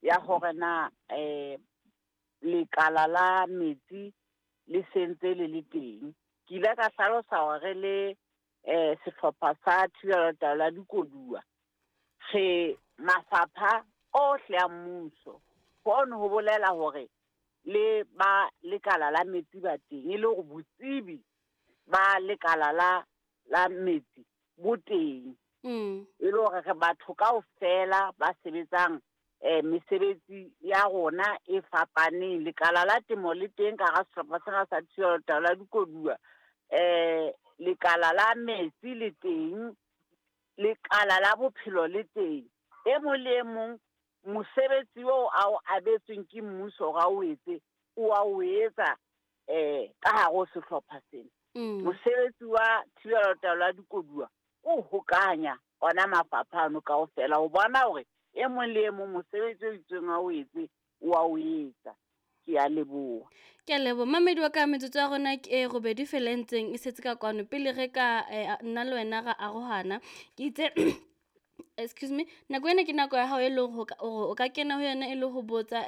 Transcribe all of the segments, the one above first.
ya hore na lekala la metsi le sentse le le teng. Ke ile ka hlalosa hore re le sehlopha sa thibelo taolo ya dikoduwa, re mafapha ohle a mmuso. Hono ho bolela hore le ba lekala la metsi ba teng, e le hore botsebi ba lekala la metsi bo teng. E le hore re batho kaofela ba sebetsang mesebetsi ya rona e fapaneng. Lekala la temo le teng ka hara sehlopha sena sa thibelo taolo ya dikoduwa, lekala la metsi le teng, lekala la bophelo le teng. E mong le e mong mosebetsi oo a o abetsweng ke mmuso hore a o etse, o a o etsa ka hare ho sehlopha sena. Mosebetsi wa thibelo taolo ya dikoduwa o hokanya ona mafapha ano kaofela ho bona hore e mong le e mong mosebetsi o itseng a o etse, o a o etsa. Ke a leboha. Ke a leboha. Mamedi wa ka, metsotso ya rona ke e robedi fela e ntseng e setse ka kwano pele re ka nna le wena ra arohana. Ke itse, excuse me, nako ena ke nako ya hao e leng hore o ka kena ho yona e le ho botsa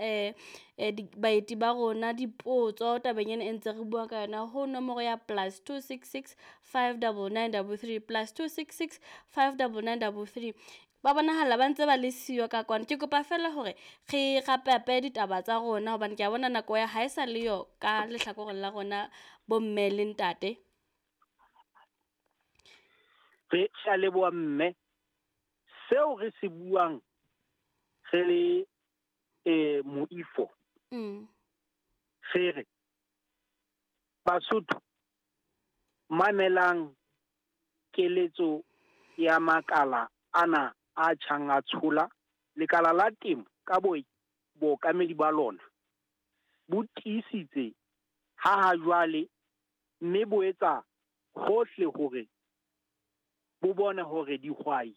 baeti ba rona dipotso tabeng ena e ntse re bua ka yona ho nomoro ya +266 599 33, +266 599 33. Ba bonahala ba ntse ba le siyo ka kwano. Ke kopa fela hore re rapeape ditaba tsa rona hobane ke a bona nako ya ha e sa le yo ka lehlakoreng la rona bomme le ntate. Re a leboha mme. Seo re se buang re le moifo. Re re Basotho mamelang keletso ya makala ana a tjhang a tshola. Lekala la temo ka bookamedi ba lona bo tiisitse ha jwale, mme bo etsa hohle hore bo bone hore dihwai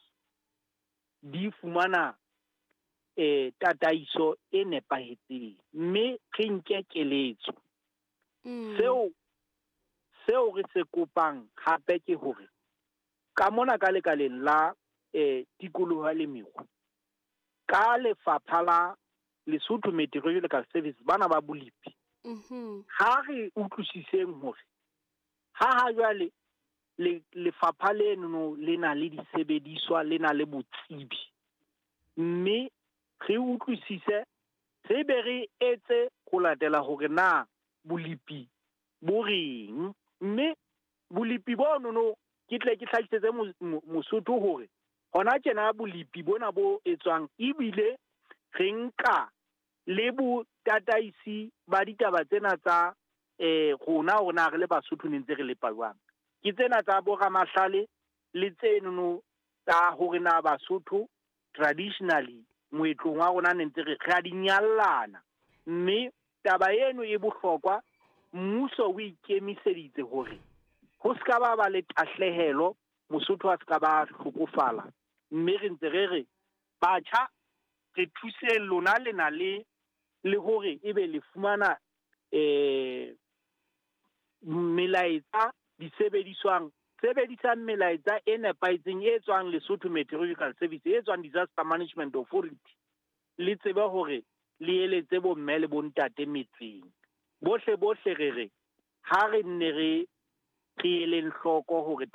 di fumana tataiso e nepahetseng, mme re nke keletso. Seo re se kopang hape ke hore ka mona ka lekaleng la tikoloho le mekgwa, ka lefapha la Lesotho Meteorological Service, bana ba bolipi, ha re utlwisiseng hore ha jwale lefapha leno le na le disebediswa, le na le botsebi, mme re utlwisise, re be re etse ho latela hore na bolipi bo reng. Mme bolipi bono ke tle ke hlakisetse Mosotho hore hona tjena bolipi bona bo etswang, ebile re nka le botataisi ba ditaba tsena tsa rona hore na re le Basotho ne ntse re lepa jwang. Ke tsena tsa boramahlale le tsenono tsa hore na Basotho traditionally moetlong wa rona ne ntse re a di nyallana. Mme taba eno e bohlokwa, mmuso o ikemiseditse hore ho ska ba le tahlehelo, Mosotho a ska ba hlokofala. Mme re ntse re re batjha re thuseng lona, le na le hore ebe le fumana melaetsa disebediswang, sebedisang melaetsa e nepahetseng e tswang Lesotho Meteorological Service, e tswang Disaster Management Authority, le tsebe hore le eletse bomme le bontate metseng. Bohle bohle re re ha re nne re eleng hloko hore